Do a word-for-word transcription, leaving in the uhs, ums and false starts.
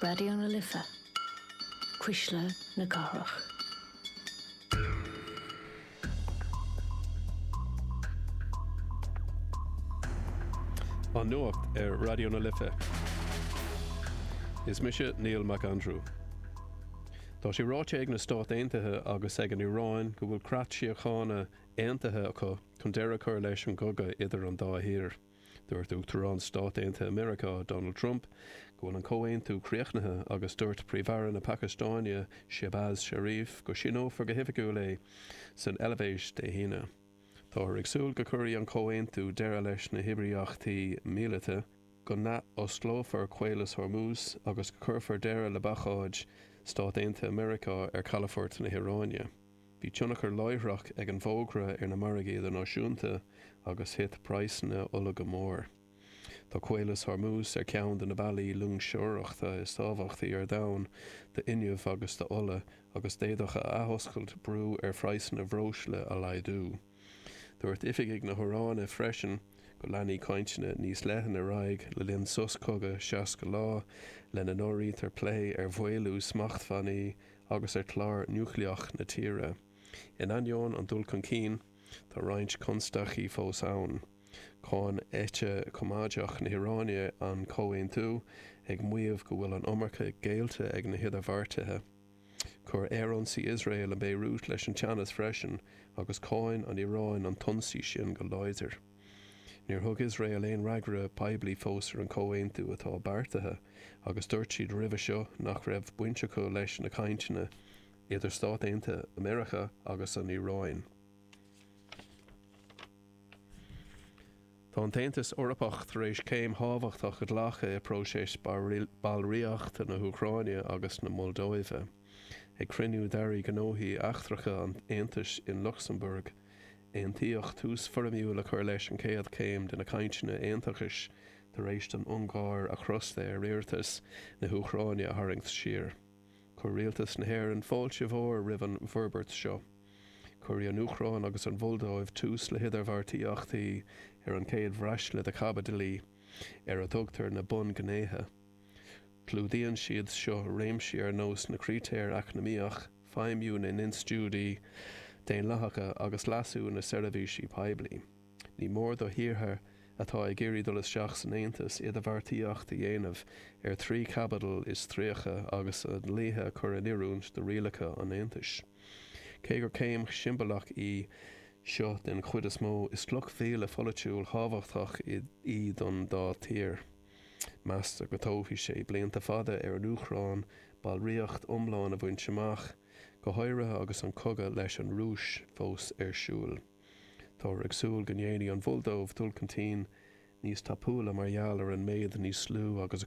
Raidió na Life, Cuisle na Cathrach. An Nuacht ar Raidió na Life. Is mise Neil McAndrew. Tá sé ráite ag na Stáit Aontaithe agus ag an Iaráin go bhfuil creat síochána aontaithe acu chun deireadh a chur leis an gcogadh idir an dá thír. Dúirt Uachtarán Stáit Aontaithe Meiriceá, Donald Trump, go bhfuil an comhaontú críochnaithe agus dúirt Príomh-Aire na Pacastáine, Shehbaz Sharif, go síneofar go hoifigiúil é san Eilvéis Dé hAoine. Táthar ag súil go gcuirfidh an comhaontú deireadh leis na hoibríochtaí míleata, go n-athosclófar Caolas Hormuz agus go gcuirfear deireadh le baghcat Stáit Aontaithe Meiriceá ar chalafort na hIaráine. Bhí tionchar láithreach ag an bhfógra ar na margaí idirnáisiúnta agus thit praghsanna ola go mór. Tá Caolas Hormuz ar cheann de na bealaí loingseoireachta is tábhachtaí ar domhan d'fhuinneamh agus d'ola agus d'fhéadfadh a athoscailt brú ar phraghsanna breosla a laghdú. Dúirt oifigigh na hIaráine freisin go leanfaidh cainteanna níos leithne ar aghaidh le linn sos cogaidh seasca lá, lena n-áirítear plé ar mhaolú smachtbhannaí agus ar chlár núicléach na tíre. In ainneoin an dul chun cinn, tá roinnt constaicí fós ann. Cháin eite choimeádach na hIaráine an comhaontú, ag maíomh go bhfuil an iomarca géillte ag na hidirbheartaithe. Chuir aerionsaí Iosrael in Beirut leis an teannas freisin agus cháin an Iaráin an t-ionsaí sin go láidir. Níor thug Iosrael aon fhreagra poiblí fós ar an chomhaontú atá beartaithe agus dúirt siad roimhe seo nach raibh baint acu leis na cainteanna idir Stáit Aontaithe Meiriceá agus an Iaráin. Tá an tAontas Eorpach tar éis céim thábhachtach a ghlacadh i bpróiseas ballraíochta na hÚcráine agus na Moldóive. Ag cruinniú d'airí gnóthaí eachtracha an Aontais in Lucsamburg, aontaíodh tús foirmiúil a chur leis an chéad chéim de na cainteanna aontachais tar éis don Ungáir a crosta ar iarratas na hÚcráine a tharraingt siar. Chuir Rialtas na hÉireann fáilte mhór roimh an bhforbairt seo. Cuirfidh an Úcráin agus an Mholdóiv tús le hidirbheartaíochtaí ar an chéad bhraisle de chaibidilí, ar a dtugtar na bunghnéithe. Clúdaíonn siad seo réimsí ar nós na critéir eacnamaíoch, feidhmiú na n-institiúidí daonlathacha agus leasú na seirbhísí poiblí. Ní mór do thíortha atá ag iarraidh dul isteach san Aontas idirbheartaíocht a dhéanamh ar thrí chaibidil is tríocha agus a ndlíthe a chur in oiriúint do rialacha an Aontais. Cé gur céim shiombalach í seo den chuid is mó, is cloch mhíle pholaitiúil thábhachtach í don dá thír. Meastar go dtógfaidh sé blianta fada ar an Úcráin ballraíocht iomlán a bhaint amach, go háirithe agus an cogadh leis an Rúis fós ar siúl. Táthar ag súil go ndéanfaidh an Mholdóiv dul chun cinn níos tapúla mar gheall ar an méid níos lú agus a